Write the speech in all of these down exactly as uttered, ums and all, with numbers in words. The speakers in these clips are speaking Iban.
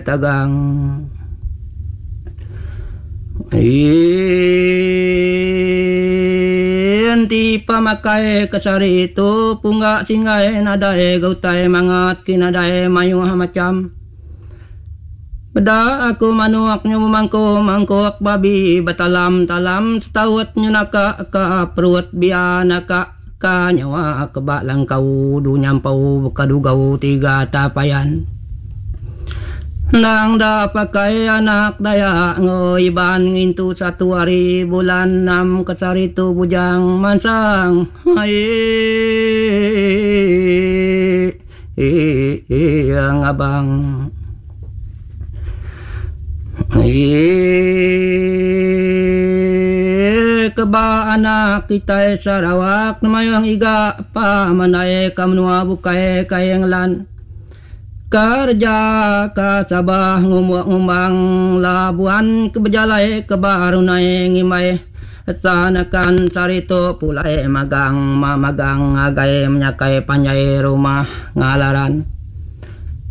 Tagang. Enti pamakai ke sehari tu pungga singgai nadai ga utai mangat ki nadai mayuh macham. Peda aku manuk nyu bemangku mangkuk babi betalam talam setaut nyu naka ka perut bia naka ka nyawa ke ba langkau du nyampau baka dugau tiga tapayan. Endang da pakai anak Dayak enggau Iban ngintu satu hari bulan enam ke sehari tu bujang mansang ai ngabang. Keba anak kitai Sarawak mayuh ngiga pa mandai ka menua bukai kai ngelan. Kereja ka Sabah ngumbuk ngumbang Labuan ke bejalai ke Barunai ngimbai Sanakan sehari tu pulai magang magang ngagai menyakai panjai rumah ngalaran.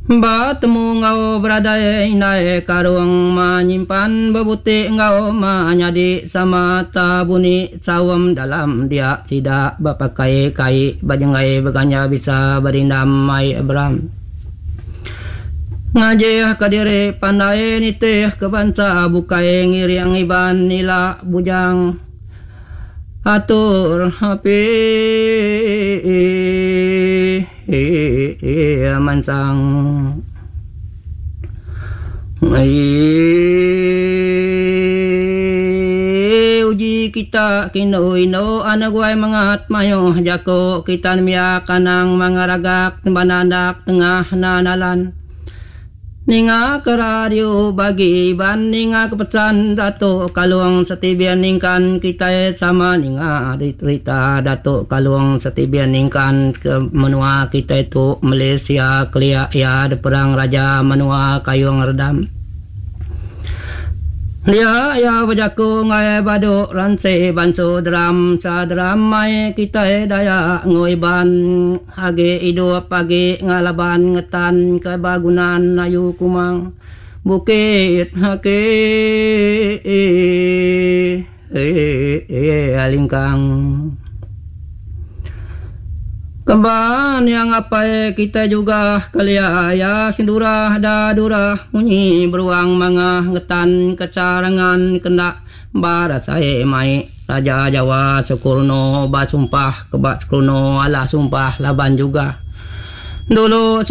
Betemu enggau beradai indai karung ma nyimpan bebuti enggau ma nyadi sama tabuni saum dalam dia sida bepakai kai bejenggai beganja bisa bedindam mai beram. Ngajih ke diri pandai nitih ke bansa bukai ngiring Iban ila bujang atur api mansang. Uji kita kindu indu anak guai mengat mayuh jaku kita nembiak anang mangaragak banandak tengah nanalan. Ninga ke radio bagi Iban ninga ke pesan Datuk Kalung Setibian Ningkan kitai sama ninga rita Datuk Kalung Setibian Ningkan ke menua kitai tu Malaysia kelia iya diperang raja menua Kayung Redam. Dia iya bejaku ngagai badu ransi bansu deram saderam mai kitai Dayak enggau Iban agi idup agi ngalaban ngetan ke bagunan ayu kumang bukit aki lingkang. Kemban yang apai kitai juga kelia iya sendurah da durah munyi beruang mangah ngetan ke sarangan kenda barasai mai Raja Jawa Sukurno basumpah ke ba Sukurno alah sumpah laban juga dulu.